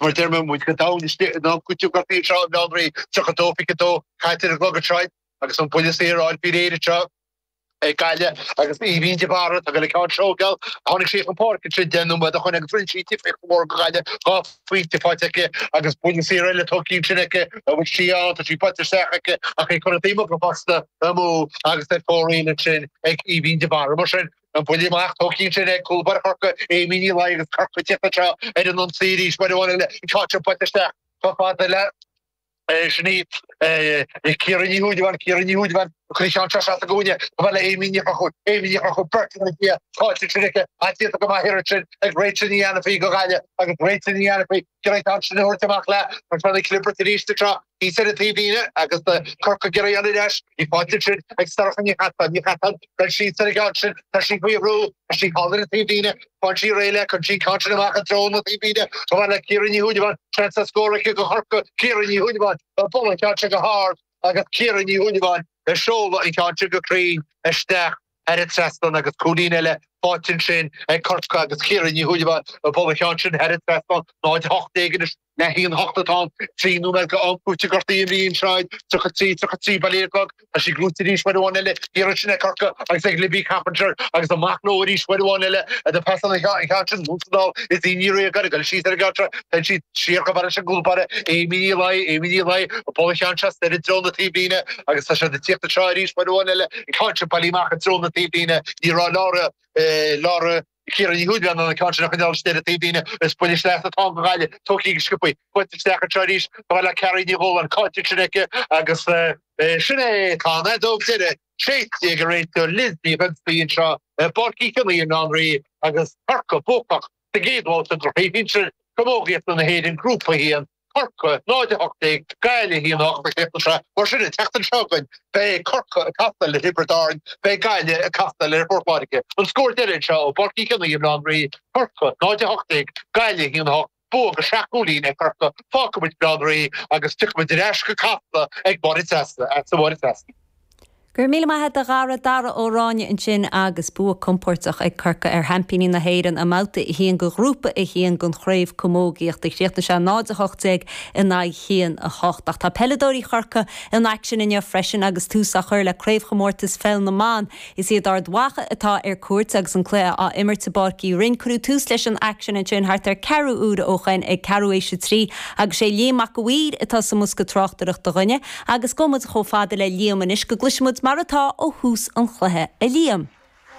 Mar a deir mé, muid go domhain istigh in am cúitimh gortaithe anseo i mBaile Átha an Rí, 32, 22, caite ar an gclog anseo agus an buille saor á fháil faoi réir anseo ag Gaillimh agus Aoibhín de Barra ag dul an ceann seo a thógáil. Tháinig sí chun páirce ansin 10 nóiméad ó shoin agus rinne sí difríocht mhór do Ghaillimh, 2 phointe faighte aici agus buille saor eile tógtha ansin aici, an bhfuil sí ann, tá sí buailte isteach aici ach í curtha taobh amuigh fosta amú agus ar fóraoil ansin ag Aoibhín de Barra. Mar sin, an buille amach tógtha ansin ag cúl báire Chorcaí, Amy Ní Laoi agus Corcaigh ag tíocht anseo ar an ionsaí arís, uair amháin eile, an ceann seo buailte isteach chomh fada le. Sin í Ciara Ní Shúilleabháin, Ciara Ní Shúilleabháin, ag cur an cheann seo isteach sa gcúinne, chomh fada le Amy Ní Chonchúir, Amy Ní Chonchúir, beirt ina diaidh, caillte ansin aici, ach déanta go maith thiar ansin ag Rachel Ní Ainifí do Ghaillimh agus Rachel Ní Ainifí ag iarraidh an ceann sin a thabhairt amach léi. Tá Seán Nic Liobraic arís anseo thíos ar an taobhlíne agus Corcaigh ag iarraidh dul ar ais. Í faighte ansin ag Sorcha Ní Chasáin, Ní Chasáin, dul síos ar an gceann sin, tá sí faoi bhrú, tá sí thall ar an taobhlíne. Faigheann sí réidh léi, cuireann sí an ceann sin amach i dtreo na taobhlíne, chomh fada le Ciara Ní Shúilleabháin, seans ar scór aici do Chorcaigh, Ciara Ní Shúilleabháin, ag bualadh an ceann sin go hard agus Ciara Ní Shúilleabháin ag seoladh an ceann sin go cruinn isteach thar an trasnán agus cúilín eile faighte ansin ag Corcaigh agus Ciara Ní Shúilleabháin ag bualadh an ceann sin thar an trasnán, 0-18 anois. Le haon 8 atá ann, 3 nóiméad go am cúitimh gortaithe imeartha anseo, 33, 33 bail ar an gclog. Tá sí gnóite arís uair amháin eile, thiar ansin ag Corcaigh agus ag Libby Coppinger agus amach leo arís uair amháin eile do phasáil an ceann sin anonn is anall is í Ní Riagáin ag dul síos ar an gceann seo. Téann sí siar chomh fada leis an gcúl báire Amy Ní Laoi, Amy Ní Laoi ag bualadh an cheann seo soir i dtreo na taobhlíne agus tá siad ag tíocht anseo arís uair amháin eile, an ceann sin bailithe amach i dtreo na taobhlíne. Ní raibh Laura, Laura. Ciara Ní Shúilleabháin in ann an ceann sin a choinneáil istigh ar an taobhlíne. Is buille sleasa atá ann do Ghaillimh. Tógtha go sciobtha. Buailte isteach anseo arís. Chomh fada le Carrie Ní Dhubhshláine. Caillte ansin aici agus sin é. Tá an fheadóg deiridh séidte ag an réiteoir Liz Ní Dhonnsaigh anseo i bPáirc Uí Chionnaith i mBaile Átha an Rí agus Corcaigh buacach sa gcéad bhabhta de Chraobh Shinsir Camógaíochta na hÉireann, Grúpa 1. Corcaigh, 0-18, Gaillimh 1-8 an tseachtain seo. Mar sin, an tseachtain seo chugainn, beidh Corcaigh ag castáil le Tiobraid Árann, beidh Gaillimh ag castáil le Port Láirge. An scór deiridh anseo ó Pháirc Uí Chionnaith i mBaile Átha an Rí, Corcaigh, 0-18, Gaillimh 1-8, bua de sheacht gcúilín ag Corcaigh. Fágfaidh muid Baile Átha an Rí agus tiocfaidh muid ar ais go Casla ag Máire Treasa, a Mháire Treasa. Go raibh míle maith agat a Dhara, Dara Ó Ráinne ansin agus bua compóirteach ag Corcaigh ar sheaimpíní na hÉireann i mbabhta 1 de Ghrúpa 1 den Chraobh Camógaíochta. Chríochnaigh sé 0-18 in aghaidh 1-8. Ach tá peileadóirí Chorcaí in aicsean inniu freisin agus tús á chur le Craobhchomórtas Pheil na mBan. Is iad Ard Mhacha atá ar cuairt agus an cluiche á imirt i bPáirc Uí Rinn. Cuireadh tús leis an aicsean ansin thart ar ceathrú uaire ó shoin ag ceathrú éis a trí agus sé Liam Mac a' Mhaoir atá sa mbosca tráchtaireachta dhúinne. Agus gabhfaidh muid chomh fada le Liam anois go gcloisfidh muid mar atá ó thús an chluiche. A Liam.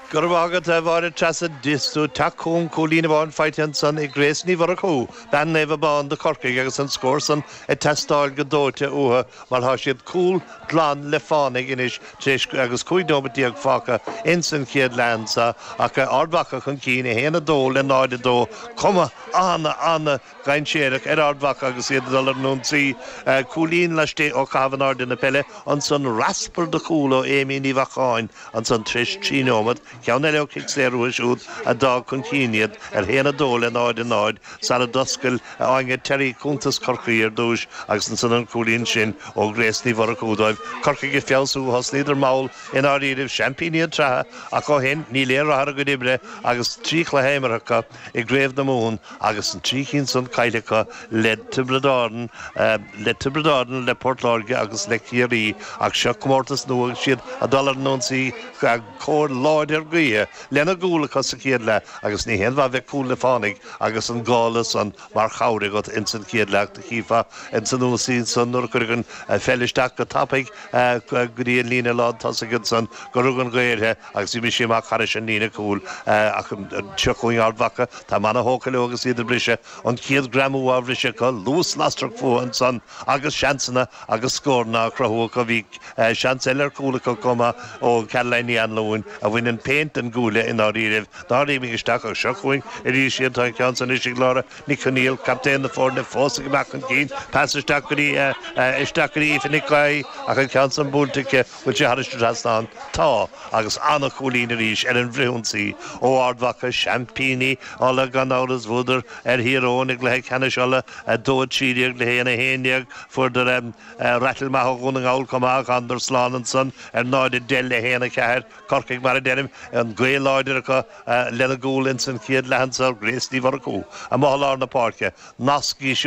Go raibh maith agat, a Mháire Treasa. Is tú ag teacht chugam, cúilín amháin faighte ansan ag Grace Ní Mhurchú, bean Naomh Abán do Chorcaigh agus an scór san ag teastáil go dóite uathu mar tá siad cúl glan le fánaidh anois tar éis agus 15 nóimeat fágtha ins an chéad leath anso ach Ard Mhacha chun cinn, 1-2 le 0-2. Cuma ana, ana Dhainséarach ar Ard Mhacha agus iad ag dul ar an ionsaí. Cúilín laistigh ó chaitheamh in airde na peile, ansan raspar de chúl ó Amy Ní Bheacháin ansan tar éis 3 nóimeat, ceann eile ó chic saor uathu siúd a d'fhág chun cinn iad ar 1, 2 le 0, 0 sara d'oscail Áine Terry cuntas Chorcaí ar dtúis agus ansan an cúilín sin ó Grace Ní Mhurchú dóibh. Corcaigh ag feabhsú, thosnaíodar mall i ndáiríribh, seaimpíní an tsraithe ach ó shin níl aon rath ar a gcuid oibre agus 3 chluiche imeartha acu. i gCraobh na Mumhan agus an 3 cinn san caillte acu le Tiobraid Árann, le Tiobraid Árann, le Port Láirge agus le Ciarraí. Ach seo comórtas nua agus iad ag dul ar an ionsaí cóir láidir gaoithe lena gcúl acu sa chéad leath agus ní haon mhaith bheith cúl le fánaidh agus an gála san mar chabhair agat ins an chéad leath. Do chífeá ins an ionsaí san nuair a cuireadh an pheil isteach go tapaidh go dtí an líne lán tosaigh ansan gur rug an ghaoth uirthi Agus d'imigh sí amach thairis an líne cúil ach seo chugainn Ard Mhacha. Tá am ana-thógtha leo agus iad ag briseadh. An chéad ghreamú á bhriseadh acu, luas lasrach fúthu ansan agus seansanna agus scóranna á chruthú acu. Bhí seans eile ar chúl acu chomh maith ó Caroline Ní Anluain a bhain an phéint den gcuaille i ndáiríribh nár imigh isteach ach seo chugainn arís iad. Tá an ceann san anois ag Laura Nic Conaill, captaen na foirne, fós ag imeacht chun cinn. Pas isteach go dtí isteach go dtí Aoife Nic Aoidh ach an ceann san buailte aici. Bhfuil sé thairis an trasnán? Tá, agus an-chúilín arís ar an bhfrithionsaí ó Ard Mhacha, seaimpíní Uladh gan amhras. Bhuadar ar Thír Eoghain i gcluiche ceannais Uladh, 2-13 le 1-11. Fuaireadar rattle maith ó Dhún na nGall chomh maith ach thánadar slán ansan ar 0-10 le 1-4. Corcaigh, mar a deirim, An ghaoth láidir acu lena gcúl ins an chéad leath anso, Grace Ní Mhurchú amuigh i lár na páirce. Nasc í siúd.